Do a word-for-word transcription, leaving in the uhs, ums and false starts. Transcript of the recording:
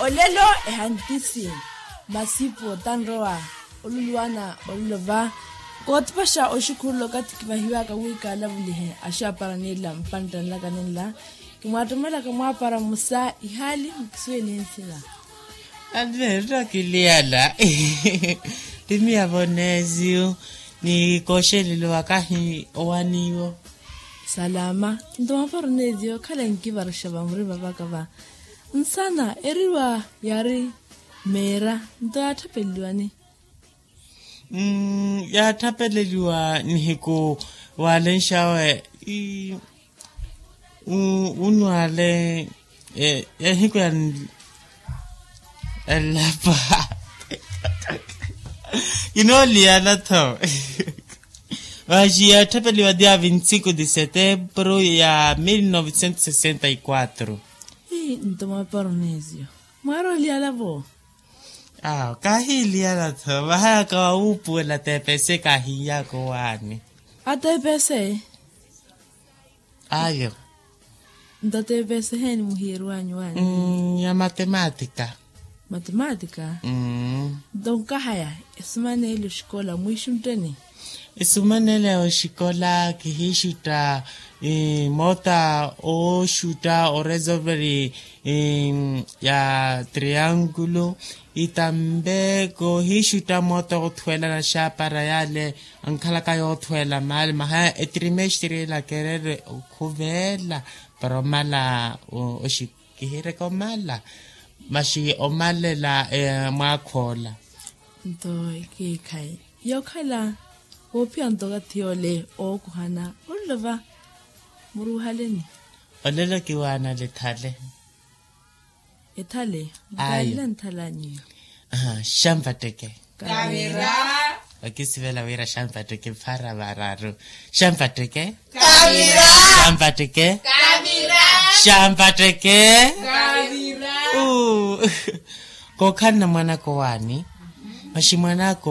Olelo ehantisi masipu otanrowa oluluwana olulova. Kootipaxa oxukhurula okathi kivahiwaka wi kaalavulihe axaapara ninla mpantta nlaka ninla. Kimwaattomelaka mwaapara mmusa ihaali mukisuwele nsina. Alberto kiliyala. Timiya voneziyo ni kooxelelo wakahi owaniwo. Salama. Nto mwaapara oneziyo khala nkivaruxa vamurima vakava. Nsana eriwa yaari meera nto yaatthapeleliwani? Yaatthapeleliwa nihiku waalenxawe unwale ehiku ya elapa. Kinooliyala tho. Vaxi yaatthapeliwa dia vinte cinco de setembro ya mil novecentos sessenta e quatro. Nto mwaapara oneziyo mwaari oliyala vo? Awo kahiiliyala tho vahayaka wawuupuwela tepese kahiiyaka owaani. Atepese? Ayo. Nto tepese heeni muhiyeeriwanyu waani? Ya matematika. Matematika? Nto nkahaya esumanele oxikola mwiixutteni? Esumanele oxikola kihiixutta moota ooxutta oresolveri ya triangulo. Itambe koohiixutta moota oothuwela naxaapara yaale ankhalaka yoothweela maali maha etrimestre ela kerere okhuveela para omala oxikihireka omala maxi omalela mwaakha ola. Nto ekiikhayi yookhala woophiya nto okathi yoole ookuhana olulova muruuhaleni. Olelo kiwaana lethale. Ethale? Ayo. Nkaale nthalanyi? Xampatteke. Kavira. Okisivela wira xampatteke mpara vararu. Xampatteke. Kavira. Xampatteke. Kavira. Xampatteke. Kavira. Kookhalana mwanaka owaani? Maxi mwanaka